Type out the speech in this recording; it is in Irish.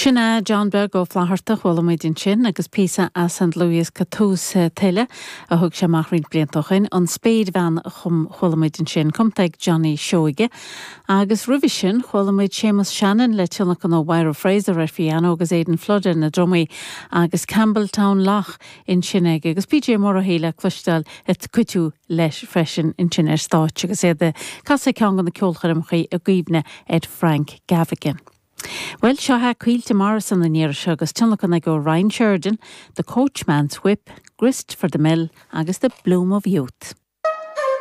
Sin é John Beag Ó Flatharta a chuala muid ansin agus píosa as an dlúthdhiosca Tús Tuile a thug sé amach roinnt blianta ó shin, An Spéirbhean a chum chuala muid ansin, cumtha ag Johnny Seoige. Agus roimhe sin chuala muid Séamus Shannon le tionlacan ó Mháire Fraser ar phiano agus Aidan Flood ar na drumaí agus Campbeltown Loch ansin aige agus PJ Murrihy le cloisteáil ag cuidiú leis freisin ansin ar stáitse agus iad ag casadh ceann de na ceolchoirmeacha i gcuimhne ar Frank Gaffigan. Bhuel, seo é Caoilte Morrison an iarraidh seo agus tionlacan aige ó Ryan Sheridan, The Coachman's Whip, Grist for the Mill agus The Bloom of Youth.